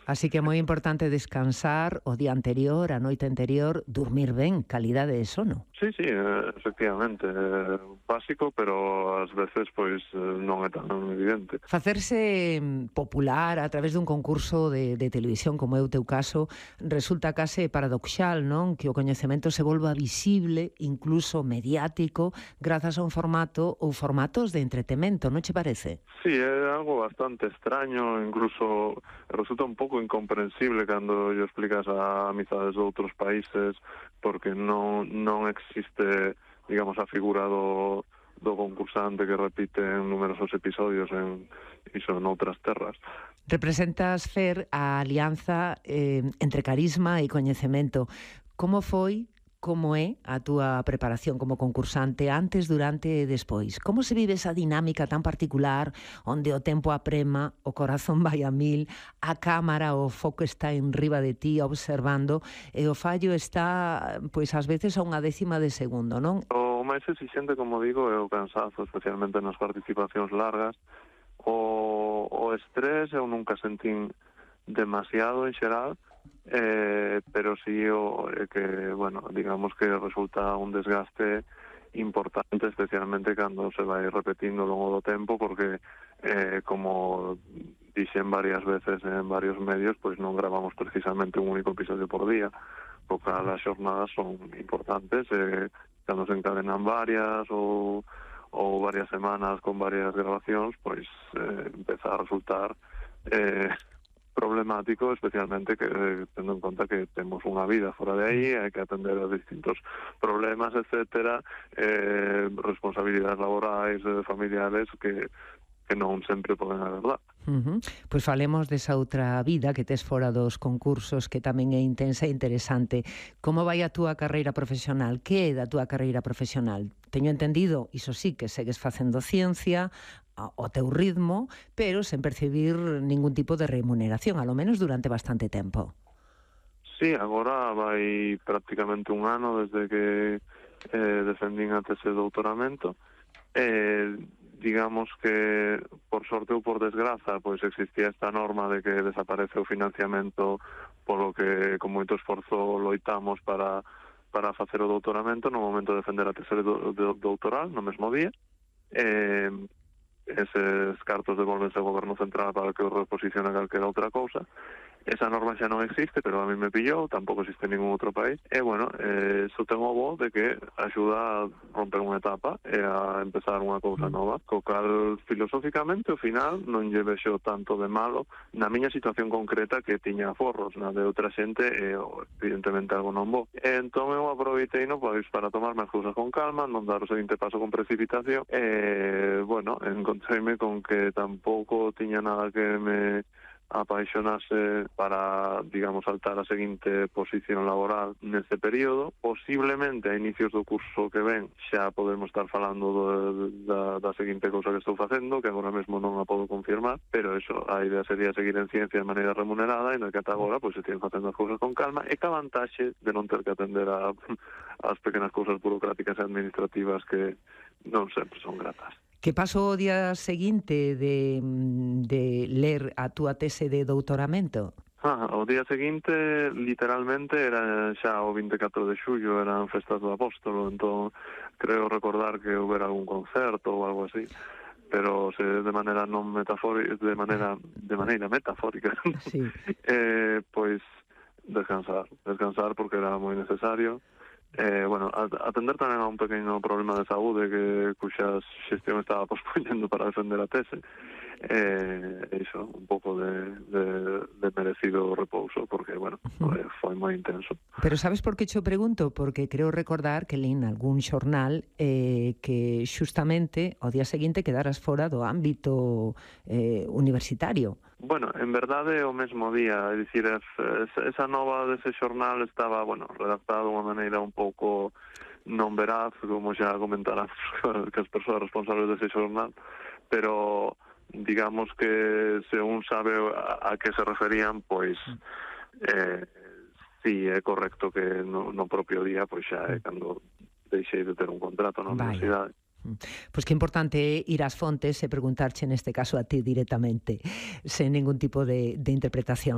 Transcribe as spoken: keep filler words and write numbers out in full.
Así que é moi importante descansar o día anterior, a noite anterior, dormir ben, calidade de sono. Sí, sí, eh, efectivamente, é básico, pero ás veces pois non é tan evidente. Facerse popular a través dun concurso de, de televisión, como é o teu caso, resulta case paradoxal, non? Que o coñecemento se volva visible, incluso mediático, grazas a un formato ou formatos de entretemento, non che parece? Sí, é algo bastante extraño, incluso resulta un pouco incomprensible cando lle explicas a amizades de outros países, porque non, non existe, digamos, a figura do, do concursante que repite en numerosos episodios en, iso, en outras terras. Representas, Fer, a alianza eh, entre carisma e coñecemento. Como foi, como é a túa preparación como concursante antes, durante e despois? Como se vive esa dinámica tan particular onde o tempo aprema, o corazón vai a mil, a cámara, o foco está en riba de ti observando e o fallo está, pois ás veces a unha décima de segundo, non? O máis exixente, como digo, é o cansazo, especialmente nas participacións largas. O, o estrés eu nunca sentín demasiado en xeral, eh, pero sí o, eh, que, bueno, digamos que resulta un desgaste importante, especialmente cando se vai repetindo ao longo do tempo, porque, eh, como dixen varias veces en varios medios, pois non gravamos precisamente un único episodio por día, porque as xornadas son importantes, eh, cando se encadenan varias ou ou varias semanas con varias grabacións, pois eh, empeza a resultar eh, problemático, especialmente que eh, tendo en conta que temos unha vida fora de aí, hai que atender a distintos problemas, etcétera, eh, responsabilidades laborais, eh, familiares, que que non sempre poden agardar. Uh-huh. Pois falemos desa outra vida que tes fora dos concursos, que tamén é intensa e interesante. Como vai a túa carreira profesional? Que é da túa carreira profesional? Teño entendido, iso sí, que segues facendo ciencia ao teu ritmo, pero sen percibir ningún tipo de remuneración, alo menos durante bastante tempo. Sí, agora vai prácticamente un ano desde que eh, defendín a tese de doutoramento. Eh, digamos que, por sorte ou por desgraza, pois existía esta norma de que desaparece o financiamento polo que con moito esforzo loitamos para, para facer o doutoramento no momento de defender a tese de, de doutoral no mesmo día. Eh, eses cartos devolvense ao goberno central para que o reposicione calquera outra cousa. Esa norma xa non existe, pero a mí me pillou, tampouco existe en ningún outro país. E, bueno, eh, iso ten o bo de que axuda a romper unha etapa e a empezar unha cousa nova, co cal, filosóficamente, ao final, non lle vexo tanto de malo na miña situación concreta, que tiña aforros, na de outra xente, e, evidentemente, algo non bo. E, entón, eu aproveitei no pois, para tomarme as cousas con calma, non dar o seguinte paso con precipitación, e, bueno, encontreime con que tampouco tiña nada que me apaixonase para, digamos, saltar a seguinte posición laboral neste período. Posiblemente a inicios do curso que ven xa podemos estar falando do, da, da seguinte cousa que estou facendo, que agora mesmo non a podo confirmar, pero eso, a idea sería seguir en ciencia de maneira remunerada, e no que ata agora pois, se tienen facendo as cousas con calma, e que a vantaxe de non ter que atender a, as pequenas cousas burocráticas e administrativas que non sempre son gratas. Que pasou o día seguinte de, de ler a túa tese de doutoramento? Ah, o día seguinte, literalmente, era xa o vinte e catro de xullo, eran festas do Apóstolo, entón creo recordar que houbera algún concerto ou algo así, pero se de maneira non metafórica, de maneira de maneira metafórica, sí. eh, pois descansar, descansar porque era moi necesario. Eh, bueno, atender tamén a un pequeno problema de saúde que cuxa xestión estaba pospoñendo para defender a tese. Eh, iso, un pouco de, de, de merecido repouso, porque, bueno, foi, foi moi intenso. Pero sabes por que xo pregunto? Porque creo recordar que lín algún xornal eh, que xustamente ao día seguinte quedaras fora do ámbito eh, universitario. Bueno, en verdade o mesmo día, é dicir, esa nova dese xornal estaba, bueno, redactada de unha maneira un pouco non veraz, como xa comentarán que as persoas responsables dese xornal, pero digamos que se un sabe a, a que se referían, pois eh, sí, é correcto que no, no propio día, pois xa é cando deixei de ter un contrato na universidade. Pois que importante é ir ás fontes e preguntarche neste caso a ti directamente, sen ningún tipo de, de interpretación.